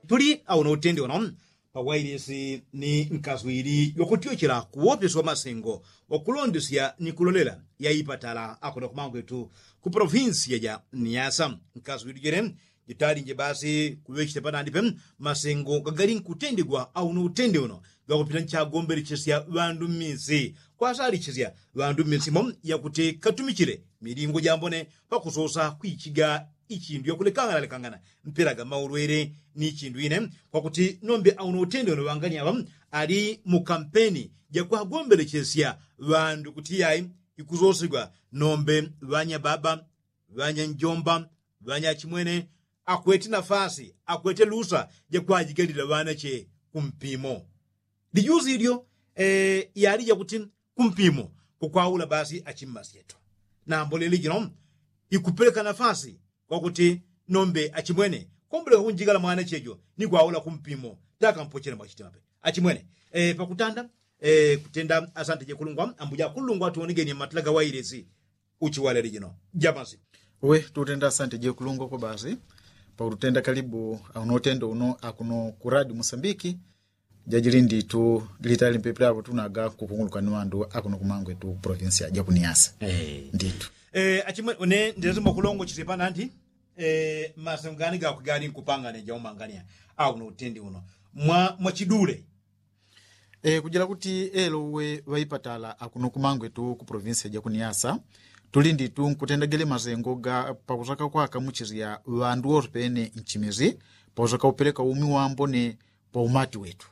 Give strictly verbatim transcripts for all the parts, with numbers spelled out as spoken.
Tuli auno utende uno pawailisi ni nkaswili yokutyochela kuwopesi wa masengo wakulondesya ni kulolela yaipatala akuno kumangwetu ku polofinsiya ja niasa. Nkaswili jele jitalinje basi kuŵechite panandipe masengo gagali nkutendegwa auno utende uno gakupita nchagombelechesya ŵandu mmisi kwasalichesya ŵandu mmisi mo yakuti katumichile milingo jambone pakusosa kwichiga ichindu yakulekanganalekangana mpela ga maulwele ni chindu ine kwakuti nombe auno utende uno ŵangani aŵa ali mu kampeni jakuhagombelechesya ŵandu kuti yai ikusosigwa nombe ŵanyababa ŵanyanjomba ŵanyachimwene akwete nafasi akwete lusa jakwajigalila ŵanache kumpimo. Lijusi ilyo yali jakuti kumpimo kukwaula basi achimmasyeto nambo leli jino ikupeleka nafasi kwakuti nombe achimwene kombeleka kunjigala mwanachejo ni kwaula kumpimo takampochela mwachitimape achimwene. Pakutanda kutenda asante jekulungwa ambuja kulungwa tuonegeni matila gawailesi uchiwaleli jino jamasi. We tutenda asante jekulungwa kwa basi paututenda kalibu auno utendo uno akuno ku radio musambiki. Jajili nditu litali mpepela apo tunaga kupunguluka ni ŵandu akuno kumangwetu provinsia jakuniasa. Nditu achimwene ndilazima kulongochesya panandi masengo gani gakwe gali nkupangane jaumangania auno utende uno mwachidule. Kujila kuti elo uwe ŵaipatala akuno kumangwetu ku provinsia jakuniasa tuli nditu nkutenda gele masengo ga pakusaka kwakamuchisya ŵandu wose pene nchimizi pakusaka upeleka umi wambone paumati wetu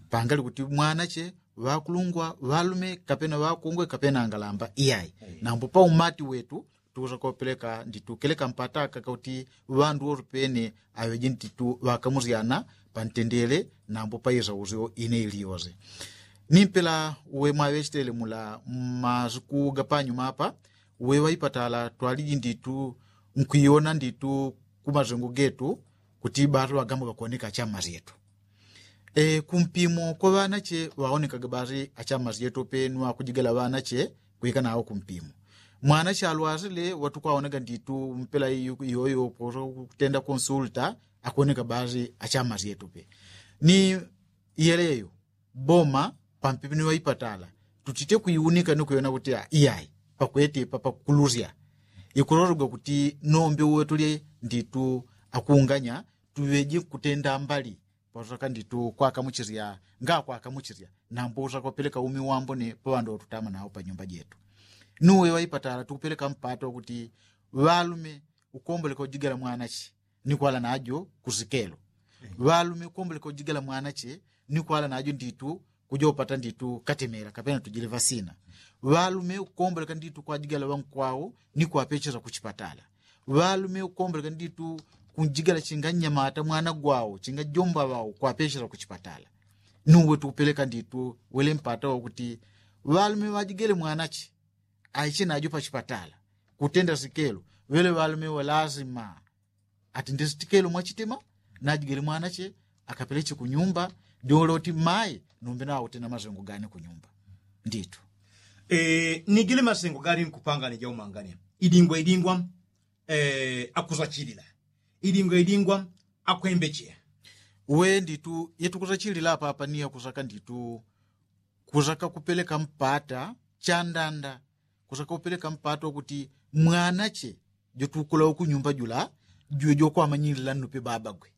pangali kuti mwanache ŵakulungwa ŵalume kapena ŵakungwe kapena angalamba iyai nambo paumati wetu tukusaka upeleka nditu keleka mpata kaka kuti ŵandu wose pene aŵeje nditu ŵakamusyana pantendele nambo paisa usyo ine iliyose. Nimpela uwe mwaŵechitele mula mmasiku gapanyuma apa uwe ŵaipatala twaliji nditu nkwiyona nditu kumasengo getu kuti basi ŵagamba gakuoneka achammasyetu. Kumpimo kwa ŵanache ŵaonekaga basi achammasyetu pe ni ŵakujigala ŵanache kwika nawo kumpimo. Mwanache alwasile ŵatukwaonaga nditu mpela iyoyo kutenda konsulta akuoneka basi achammasyetu pe. Ni yeleyo boma pampepe ni ŵaipatala tutite kwiunika ni kwiona kuti iyai pakwete papakulusya ikulologwa kuti nombe uwe tuli nditu akunganya tuŵeje kutenda mbali pakusaka nditu kwakamuchisya ngakwakamuchisya nambo usaka upeleka umi wambone paŵandu ŵatutama nawo panyumba jetu. Nuwe ŵaipatala tukupeleka mpata wakuti ŵalume ukomboleka ujigala mwanache ni kwala najo kusikelo. Ŵalume ukomboleka ujigala mwanache ni kwala najo nditu kuja upata nditu katemela kapena tujile ŵasina. Ŵalume ukomboleka nditu kwajigala ŵankwau ni kwapechesa kuchipatala. Ŵalume ukomboleka nditu kunjigala chinga nnyamata mwana gwau chinga jomba ŵau kwapechesa kuchipatala. Nuwe tukupeleka nditu wele mpata wakuti ŵalume ŵajigele mwanache aiche najo pachipatala kutenda sikelo ŵele ŵalume ŵalazima ati ndisitikelo mwachitima najigele mwanache akapeleche kunyumba. Diole uti mai numbe naute na masengo gane kunyumba. Nditu nigile masengo gali nkupangane jaumangane idingwa idingwa akusachilila idingwa idingwa akwembeche. We nditu yetukusachilila apapa ni yakusaka nditu kusaka kupeleka mpata chandanda kusaka kupeleka mpata wakuti mwanache jotukula ukunyumba jula juwe jokwamanyilila nnupe babagwe.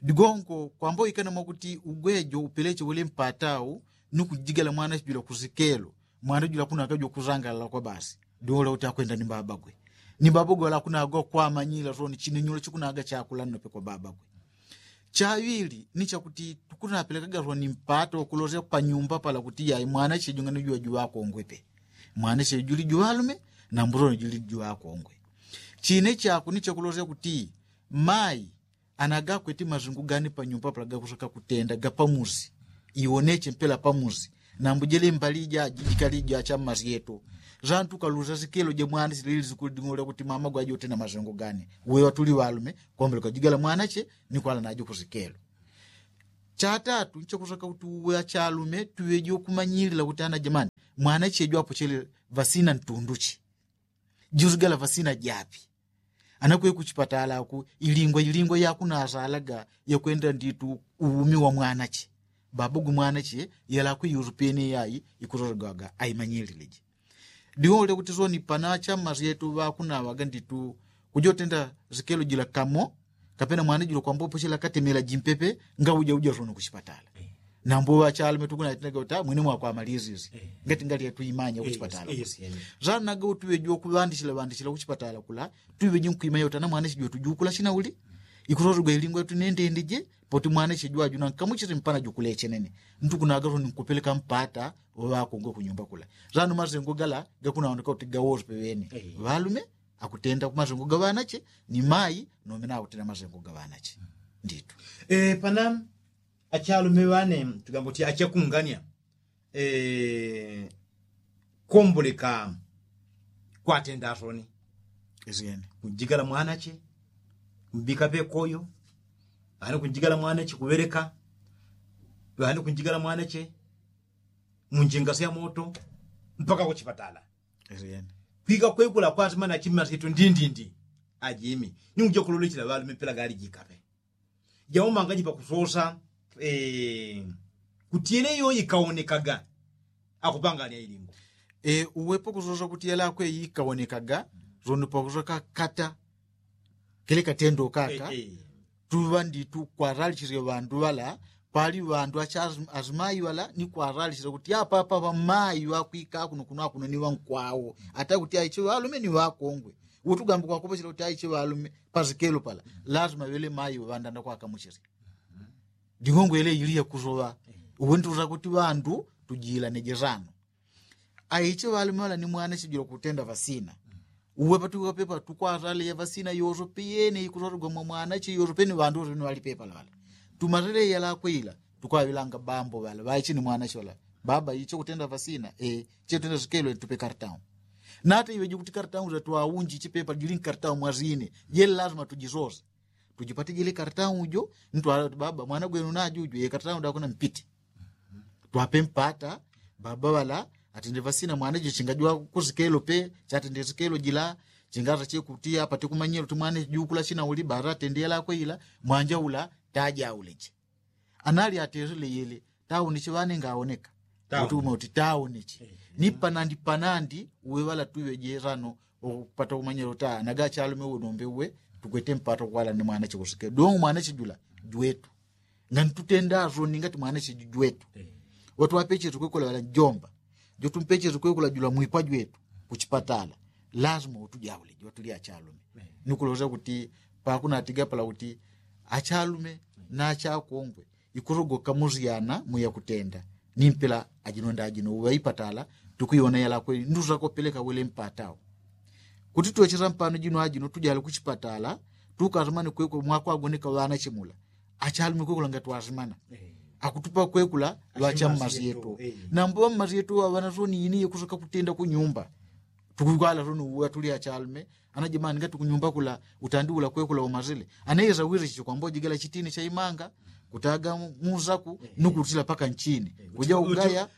Digonko kwamba uikana mwakuti ugwejo upeleche wele mpatau ni kujigala mwanache jula kusikelo mwana jula kunaga jokusangalala kwa basi. Diwola uti akwenda ni babagwe ni babagwe wala kunaga kwamanyila soni chinenyulo chikunaga chakula nnupe kwa babagwe. Chaŵili ni chakuti tukunapelekaga soni mpata wakulosya panyumba pala kuti yai mwanache jungani juŵa juŵakongwe pe. Mwanache juli juŵalume na mbusoni juli juŵakongwe. Chine chakwe ni chakulosya kuti mai anagakwete masungu gani panyumba pala gakusaka kutenda gapamusi iwoneche mpela pamusi. Nambu jele mbali ija jijikali ija chammasyeto zantu kalusa sikelo ja mwana silili sikuli ding'ole kuti mama gwajote na masungu gani. Wewa tuli walume kwambile kwajigala mwanache ni kwala najo kusikelo. Chatatu nchakusaka kuti uwe achalume tuweje ukumanyilila kuti ana jamani mwanache jwapochele vasina ntunduchi jusigala vasina japi. Anakwe kuchipatala aku ilingwa ilingwa yakunasalaga yakwenda nditu uumi wa mwanache. Baba gumwanache yalakwe yusupene yayi ikusosogwaga aimanyilileje. Diwole kuti soni pana chamma syetu ŵakunaŵaga nditu kujotenda sikelo jila kamo kapena mwana jila kwambopo chila katemela jimpepe ngauja uja soni kuchipatala. Nambo ŵachalume tukunatendaga uta mwene mwakwamalisisi ngati ngali yatuimanya kuchipatala. Sanaga utuŵeji wakuŵandisila ŵandisila kuchipatala kula tuiŵeji nkuimanya uta na mwana chijwe tujukula chinauli ikusosogwa ilingwa tunendendije. Poti mwana chijwaju nankamuchisi mpana jukulechenene ntukunaga soni nkupeleka mpata. Ŵakungwe kunyumba kula sano masengo gala gakunaoneka uti gawosi peŵene ŵalume akutenda kumasengo gaŵanache ni mayi nomena akutenda masengo gaŵanache. Nditu. Pana achalume ŵane tugamba uti achakungania komboleka kwatenda soni. Kunjigala mwanache mbika pekoyo ŵane kunjigala mwanache kuŵeleka ŵane kunjigala mwanache munjinga sya moto mpaka kuchipatala. Kwika kwekula kwasima na chimma situ ndindindi ajimi ni uja kulolechela ŵalume pela gali jikape. Jaumanga jipakusosa kuti yele yo ikaonekaga akupangania ilingo. Uwepo kusosa kuti yele akwe ikaonekaga zono pakusoka kata kele katendo kaka. Tuŵa nditu kwaralishisya ŵandu ŵala pali ŵandu acha azimayi ŵala ni kwaralishisya kuti apapa ŵamayi ŵakwika akuno kuno akuno ni ŵankwao ata kuti aichi ŵalume ni ŵakongwe. Utugambi kwakupochela kuti aichi ŵalume pasikelo pala lazima ŵele mayi ŵandanda kwakamuchisya. Ndingongwe yele iliya kusoŵa uwe ntuza kuti ŵandu tujilaneje sano. Aiche ŵalume ŵala ni mwana chijula kutenda ŵasina. Uwe patukapepa tukwatale ya ŵasina yoso piyene ikusotogwa mwa mwana chi yoso pene ŵandu woso pene ŵalipepa lala. Tumatele yalakwe ila tukwaŵilanga bambo ŵala ŵaiche ni mwana chi ŵala baba iche kutenda ŵasina e che kutenda sikelo tupe kartaun. Nata iwe jukuti kartaun za twaunji chipepa jili nkartaun mwazine jele lazima tujisose. Tujipatijile kartaun ujo ntwala kuti baba mwana gwenu najuju ye kartaun dakuna mpiti. Twape mpata baba ŵala atende ŵasina mwana jo chingajwa kusikelo pe chatende sikelo jila. Chingaza chekuti apate kumanyela uti mwana jukula china uli bara atende yalakwe ila mwanja ula tajauleche. Anali atesile yele tauniche ŵane ngaoneka. Utuma uti tauniche ni panandi panandi uwe ŵala tuiŵeje sano. Ukupata kumanyela uti anaga achalume uwe nombe uwe tukwete mpata kukwala ni mwana chikusikelo dongo mwana chijula jwetu. Ngani tutenda soni ngati mwana chijujwetu. Watwapechete kwekula ŵala njomba jotumpechete kwekula jula mwikwa jwetu kuchipatala. Lazima utujaule jwatuli achalume nikuloza kuti pakunatiga pala kuti achalume na achakongwe ikulogoka muzyana muya kutenda. Ni mpela ajino ndajino uŵa ipatala tukuiwona yalakwe nduza kopeleka wele mpatao. Kuti tuwecheza mpano jino ajino tujale kuchipatala tukazimane kwekula mwakwagoneka ŵana chimula. Achalume kwekula ngatwazimana akutupa kwekula ŵacha mmazi yetu. Nambo ŵammazi yetu ŵaŵana soni ini yekusoka kutenda kunyumba. Tukukwala soni uwe atuli achalume ana jimani ngati kunyumba kula utandiula kwekula umazile. Ana yeza wirichicho kwamba ujigala chitini cha imanga kutaga muzaku nukutila paka nchini kuja ugaya.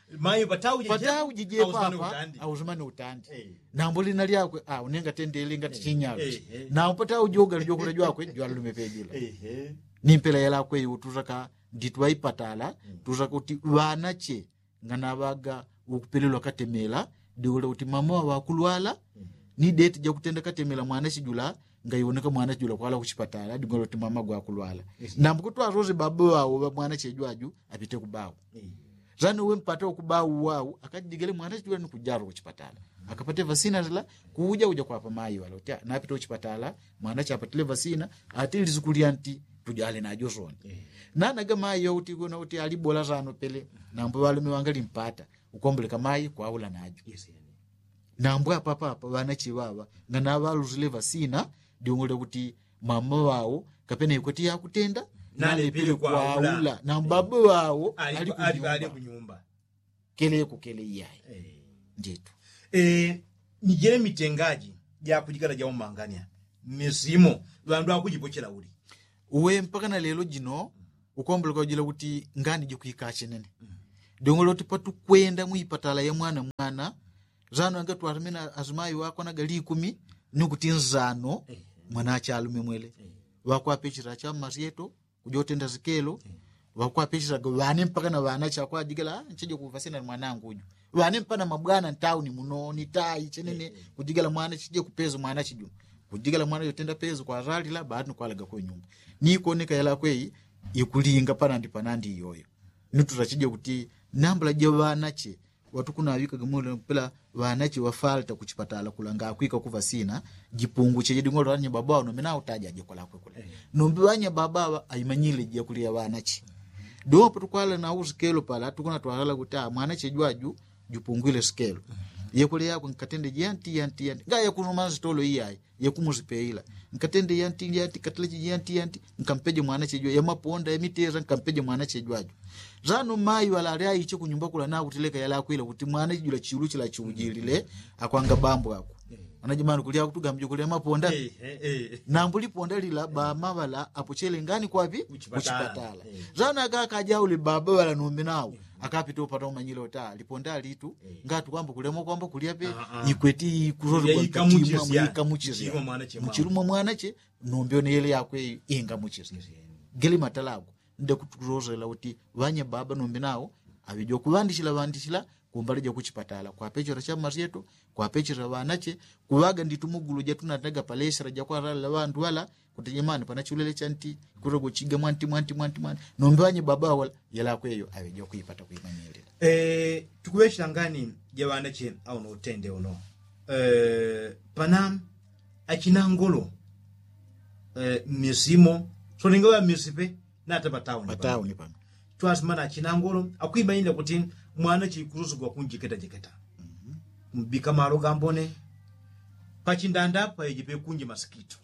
Pataujije papa auzimane utandi. Nambo lina lyakwe unenga tendele ngati chinyaluchi. Nambo pataujoga lijokuta jwakwe jwalume pejila. Ni mpela yalakwe iutuzaka nditwa ipatala tuzaka kuti ŵanache nganaŵaga ukupelelwa katemela. Diwole uti mama waŵa akulwala ni deti jakutenda katemela mwana chijula. Ngaiwoneka mwana chijula kwala kuchipatala diwole uti mama gwakulwala. Nambu kutwasoze baba wawo ŵa mwana chejwaju apite kubawu. Zani uwe mpata ukubawu wawu akajijigele mwana chijula ni kujalo kuchipatala akapate vasina zila. Kuja uja kwapa mayi wala uti napite kuchipatala mwana chapatile vasina. Ati lizikulia nti tujale najo soni. Nanaga mayi yo uti kuna uti alibola sano pele. Nambu ŵalume wangalimpata ukomboleka mayi kwaula najo. Nambu apapapa ŵanache ŵaŵa nganaŵaluzile ŵasina diungule kuti mama ŵawo kapena ikweti yakutenda nalepele kwaula nambu baba ŵawo ali kunyumba. Kele kukele iyayi. Nditu. Ni jele mitengaji jakujikala jaumangania misimo ŵandu akujipochela uli. Uwe mpaka na lelo jino ukomboleka ujila kuti ngani jikwika chenene. Dongolo uti patukwenda muipatala ya mwana mwana zano angatwarumina azimayi wako anaga likumi ni kuti nzano. Mwana achalume mwele ŵakwapechela chammasyeto kujotenda sikelo. Ŵakwapechelaga ŵane mpaka na ŵanache akwajigala ncheje kuvasina ni mwanangu uju. Ŵane mpana mabwana ntauni muno ni tai chenene kujigala mwana chije kupeza mwana chiju kujigala mwana jotenda peza kwazalila baati ni kwalaga kwe nyumba. Ni ikoneka yalakwe ikulinga panandi panandi iyoyo. Nituta chije kuti nambula ja ŵanache ŵatukunaŵikaga mule mpela ŵanache ŵafalta kuchipatala kulanga akwika kuvasina jipunguche jidingolo ŵanyababa ŵano mena utaja ajikolakwe kule. Nombi ŵanyababa ŵa aimanyile jakulia ŵanache. Dopo tukwala na usikelo pala tukuna twalala kuti mwanache jwaju jupungwile sikelo. Yekule yakwe nkatende janti janti janti nga yakunuma nzitolo iyayi yakumuzipeila. Nkatende yanti yanti kateleche yanti yanti nkampeje mwanache jwa yamaponda yamiteza nkampeje mwanache jwaju. Zano mayi ŵala ali aiche kunyumba kula nakuteleka yalakwila kuti mwanache jula chiulu chila chiujilile akwanga bambo ako. Anajimani kulia kutugamjo kulia maponda. Nambu liponda lila bama ŵala apochele ngani kwapi kuchipatala. Zano akakajauli baba ŵala nombi nawo akapita upata umanyile uta liponda litu ngati kwamba kulemo kwamba kulia pe ikweti kuzozo kwakatimwa mwikamuchizya muchilumwa mwanache. Nombi one yele yakwe ingamuchizya gele matalago nde kutuzozela kuti ŵanye baba nombi nawo aŵejo kuŵandishila ŵandishila kumbali ja kuchipatala kwapechela chammasyeto kwapechela ŵanache kuŵaga nditu mugulu jatunataga palesela jakwaralila ŵandu ŵala kuti jemani pana chulele chanti kutogo chiga mwanti mwanti mwanti mwanti. Nombi ŵanye baba ŵala yelakweyo aŵejo kuipata kuimanyilila. Tukuŵechela ngani ja ŵanache auno utende uno pana achinangolo. Mmisimo solinga ŵa mmisi pe nata patauni patauni pano. Twasimana achinangolo akwimanyila kuti mwana chikususigwa kunjiketa jiketa mbika malo gambone pachindanda paiji pekunji masikito.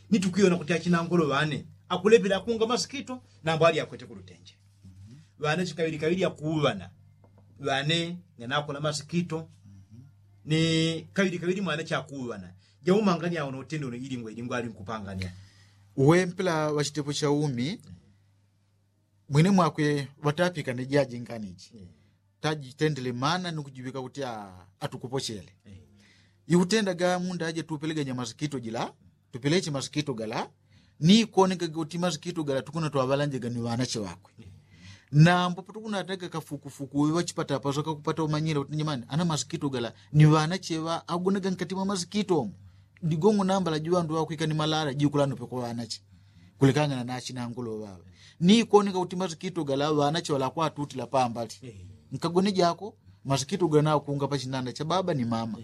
Ni tukwiyona kuti achinangolo ŵane akulepela akunga masikito nambo ali akwete kulutenje. Ŵane chikaŵili kaŵili akuŵana ŵane nganakola masikito ni kaŵili kaŵili mwana chakuŵana. Jaumangania uno utende uno ilingwa ilingwa ali nkupangania. Uwe mpela ŵachitepo chaumi mwine mwakwe ŵatapika ni jaji nganiji tajitendele mana ni kujiŵika kuti atukupochele. Iutendaga munda aje tupeleganya masikito jila tupeleche masikito gala ni konekaga kuti masikito gala tukuna twaŵalanjaga ni ŵanache ŵakwe. Nambo patukunateka kafukufuku uwe ŵachipata pasoka kupata umanyila kuti nyamani ana masikito gala ni ŵanache ŵa agonaga nkati mwa masikito omo. Digongo nambala jiŵandu ŵakwika ni malala jikula nope kwa ŵanache kulekangana na achinangolo ŵaŵa. Ni koneka kuti masikito gala ŵanache ŵala akwatutila pambali nkagone jako masikito gala nakunga pachinanda cha baba ni mama.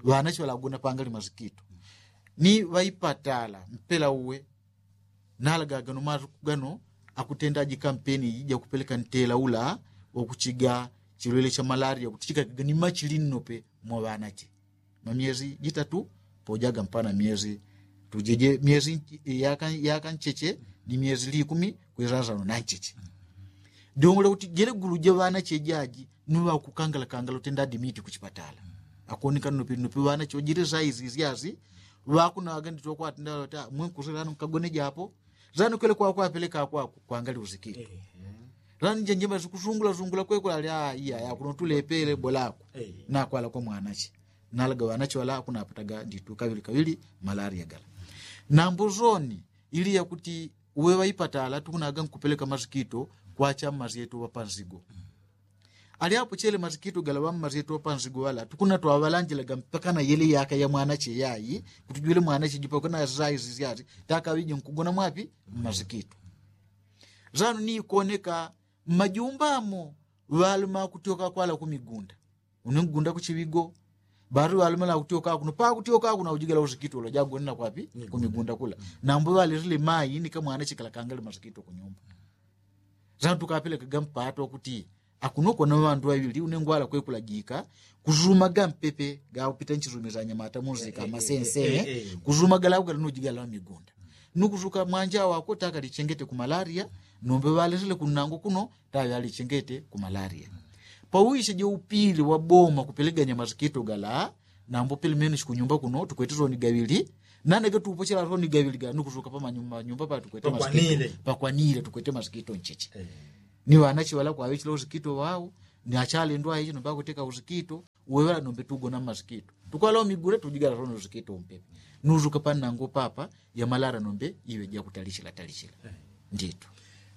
Ŵanache ŵala agona pangali masikito ni ŵaipatala mpela uwe nalagaga no matuku gano akutenda aji kampeni iji jakupeleka ntela ula wakuchiga chilwele cha malaria kuti chikakaga ni machili nnope mwa ŵanache. Mamyezi jitatu pojaga mpana myezi tujeje myezi yaka ncheche ni myezi likumi kwizazano na ncheche. Dongole kuti jele gulu ja ŵanache jaji ni ŵakukangala kangala utenda adimiti kuchipatala. Akoneka nnope nnope ŵanache wajile zaizi zyazi ŵakunawaga nditokwatenda ŵata mwenkusilano nkagone japo. Zano kwele kwakwa apeleka akwaku kwangali usikito. Zano njenjema zikusungula sungula kwekula ali iya yakuno tulepele bolako nakwala kwa mwanache. Nalaga ŵanache ŵala akunapataga nditu kaŵili kaŵili malaria gala. Nambo zoni ili yakuti uwe ŵaipatala tukunaga nkupeleka masikito kwacha mmazi yetu ŵapanzigo. Alyapo chele masikito gala ŵammazi yetu ŵapanzigo ŵala tukuna twaŵalanjilaga mpaka na yele yaka ya mwanache yayi kuti jwele mwanache jupakana zaizi zyazi takaŵije nkugona mwapi mmasikito. Zano ni ikoneka mmajumba amo ŵaluma akutyoka kwala kumigunda. Une nkugunda kuchiŵigo batu ŵaluma lakutyoka kuno pakutyoka kuno aujigala usikito ula jagonela kwapi kumigunda kula. Nambo ŵalesile mayi ni kamwanache kala kangali masikito kunyumba. Zano tukapelekaga mpato wakuti akuno kona ŵandu ŵaŵili une ngwala kwekulajika kuzuma gampepe gaupita nchizumi za nyamata muzika masense kuzuma galaugala nujigala ŵamigunda. Nukuzuka mwanja wako takalichengete ku malaria. Nombe ŵalesile kunnango kuno taŵe alichengete ku malaria. Pauwishe jeupili waboma kupeleganya masikito gala. Nambo pili menu shikunyumba kuno tukwete soni gaŵili. Nane getupochela soni gaŵili gala nukuzuka pamanyumba patukwete masikito pakwanile tukwete masikito ncheche. Ni ŵanache ŵala kwaŵechela usikito ŵau ni achalendwa ichi nombe akuteka usikito. Uwe ŵala nombe tugona mmasikito tukwala umigule tujigala soni usikito umpepe. nuzuka panango papa ya malara nombe iwe jakutalichila talichila. Nditu.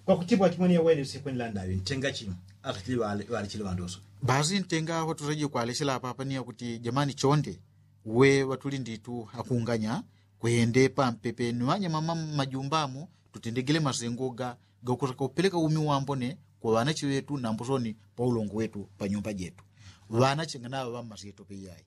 Kwakutibwa kimwene yawene usikwendela ndayo ntenga chino akachili ŵalichile ŵandoso. Basi ntenga aho tusaje kwalechela papa ni yakuti jamani chonde we ŵatuli nditu akunganya kwende pampepe ni ŵanyama majumbamo tutendegele masengo ga gakusaka upeleka umi wambone kwa ŵanache ŵetu nambo soni pa ulongo wetu pa nyumba jetu. Ŵanache nganaŵa ŵammasyetope iyayi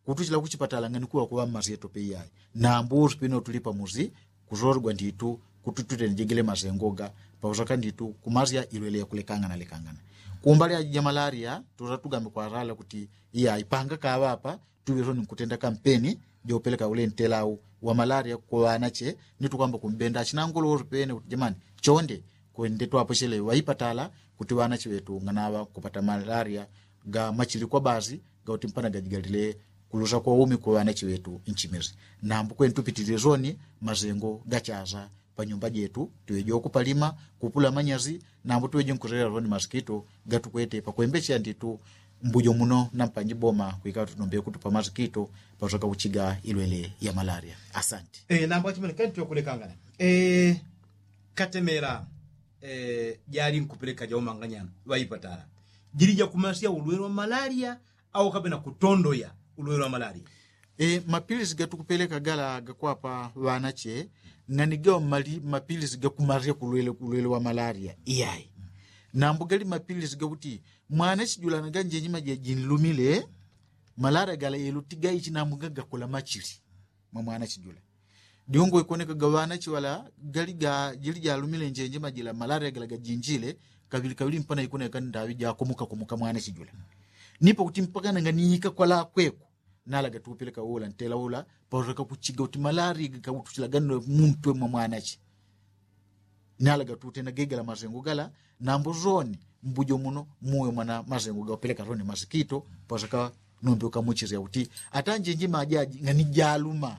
kutuchila kuchipatala nganikuŵa kuŵa mmasyetope iyayi. Nambo usu pene utulipa musi kusologwa nditu kuti tutendegele masengo ga pausaka nditu kumasya ilwele yakulekangana lekangana. Kumbali aji ja malaria tusa tugambe kwasala kuti iyayi panga kaŵapa tuŵe soni nkutenda kampeni jaupeleka ule ntelau wa malaria kwa ŵanache. Ni tukwamba kumbenda achinangolo usu pene kuti jamani chonde kwende twapochele ŵaipatala kuti ŵanache ŵetu nganaŵa kupata malaria ga machili kwa basi gauti mpana gajigalile kulusa kwa umi kwa ŵanache ŵetu nchimisi. Nambo kwenu tupitilile soni masengo gachasa pa nyumba jetu tuŵeje ukupalima kupula manyasi. Nambo tuŵeje nkuselela soni masikito gatukwete pakwembecheya nditu mbujo muno nampanji boma kwikaŵa tunombe kutupa masikito pasoka kuchiga ilwele ya malaria. Asante. Nambo achimene kani tukulekangana. Katemela jali nkupeleka jaumanganya ŵaipatala jili jakumasya ulwele wa malaria au kapena kutondoya ulwele wa malaria? Mapilisi gatukupeleka gala gakwapa ŵanache ngani gawa mali mapilisi gakumasya kulwele kulwele wa malaria iyayi. Nambo gali mapilisi gakuti mwana chijula na ganjenjima jejinlumile malaria gala yeluti gaichi nambo gagakula machili mwa mwana chijula. Diungo ikoneka gaŵanache ŵala gali ga jili jalumile njenjima jila malaria gala gajinjile kaŵili kaŵili mpana ikoneka ndaŵi jakomoka komoka mwana chijula. Nipo kuti mpaka nanga niika kwala kweko nalaga tuupeleka ula ntela ula pausaka kuchiga kuti malaria gakautuchila gano muntwe mwa mwanache. Nalaga tutenda gegela masengo gala nambo soni mbujo muno muwe mwana masengo gaupeleka soni masikito pausaka nombe ukamuchisya kuti ata njenjima ajaji ngani jaluma.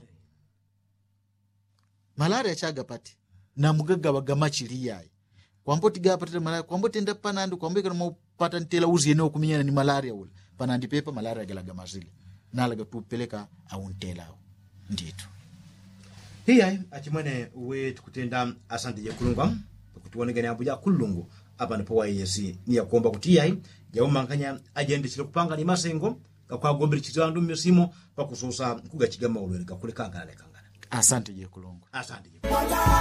Malaria chagapati nambo gagaŵa gamachili iyayi. Kwambo tigapatile malaria kwambo tenda panandi kwambo ikana mwaupata ntela usi yene ukuminyana ni malaria ula panandi pepa malaria gala gamasile. Nalaga tupeleka au ntela au nditu. Iyayi achimwene we tukutenda asante jekulungwa pakuti wonegane ambo jakulungu. Apano pawaiyesi ni yakuomba kuti iyayi jaumanganya ajendechile kupanga ni masengo gakwagombele chitila andu mmisimo pakusosa kugachiga maulwele gakulekangana lekangana. Asante jekulungwa. Asante jekulungwa.